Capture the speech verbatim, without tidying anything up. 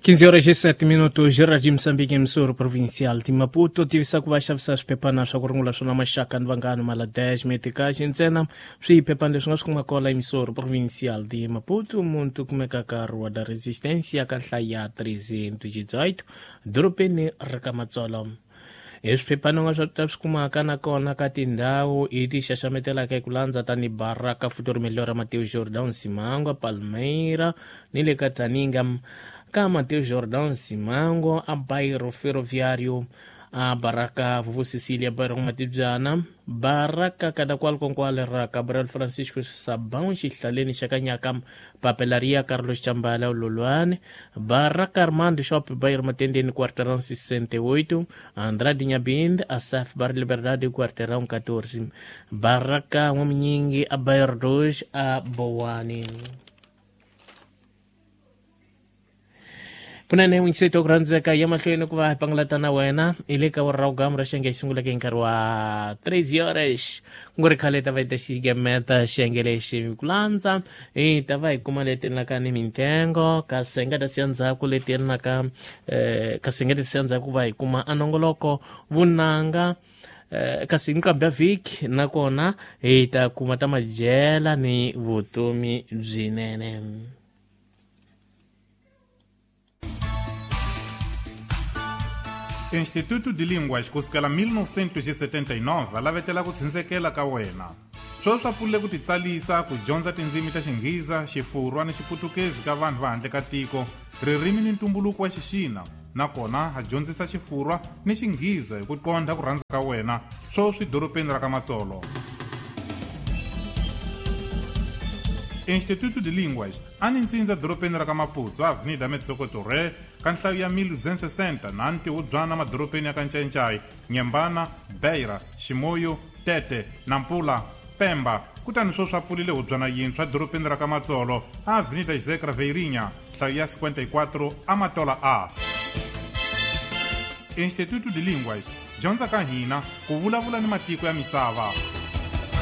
quinze horas e sete minutos, Jardim Moçambique, emissora provincial de Maputo, tivisa ku va xavisa swiphephana swa ku rungula swona maxaka ni vanghana mala dez metikaxi ntsena. Swiphephana leswi nga swi kuma kwala emissora provincial de Maputo, muntu kumeka ka Rua da Resistência ka nhlayo ya trezentos e dezoito, dorobeni ra ka Matsolo. Hi swiphephana nga swa ta swi kumaka nakona ka tindhawu hi ti xaxametelaka hi ku landza tani Baraka, Futuro Melhor, Mateus Jordão Simango, Palmeira ni le ka Taninga. Ka Mateus Jordão Simango, a Bairro Ferroviário, a Baraka Vuvu Cecília, Bairro Matibyana, Baraka Kadakwal Konkwale ra Gabriel Francisco Sabão, Xihlaleni xa Kanyaka, Papelaria Carlos Chambala Lolwane, Baraka Armando Shop, Bairro Matendeni, Quarteirão sessenta e oito, Andrade Nhabind, Asaf Bar Liberdade, Quarteirão catorze, Baraka Homem a Bairro dois, a Boane. Kunene n'wingiseti ku rhandzeka ya mahlweni ku va hi pangalata na wena hi le ka vuraugamu ra xiyenge xi sunguleke hi nkarhi wa treze horas ku nga ri khale hi ta va hi ta xigemeta xiyenge lexi ku landza hi ta va hi kuma leti endlaka ni mintengo kasi hi nga ta siya ndzhaku leti endlaka um kasi hi nga ta siya ndzhaku ku va hi kuma anongoloko vunanga kasi nqambi ya vhiki nakona hi ta kuma ta madyela ni vutomi byinene. Instituto de Línguas kusukela mil novecentos e setenta e nove a lavetela ku tshunxekela ka wena. Sweswi swa pfulile ku titsalisa ku dyondza tindzimi ta Xinghiza, Xifurwa ni Xiputukezi ka vanhu va handle ka tiko, ririmi ni ntumbuluko wa Xixina, nakona ha dyondzisa Xifurwa ni Xinghiza hi ku qondha ku rhandza ka wena, sweswi dorobeni ra ka Matsolo. Instituto de Línguas a ni ntsindza dorobeni ra ka Maputo, Avenida Metsoko Torre, ka nhlayo ya mil duzentos e sessenta na ntihubyana madorobeni ya ka Ncayincai, Nyembana, Beira, Ximoyo, Tete, Nampula, Pemba. Kutani sweswi swa pfulile hubyana yintshwa dorobeni ra ka Matsolo, Avenida José Craveirinha, nhlayo ya cinquenta e quatro, Amatola A. Instituto de Línguas, dyondza ka hina ku vulavula ni matiko ya misava.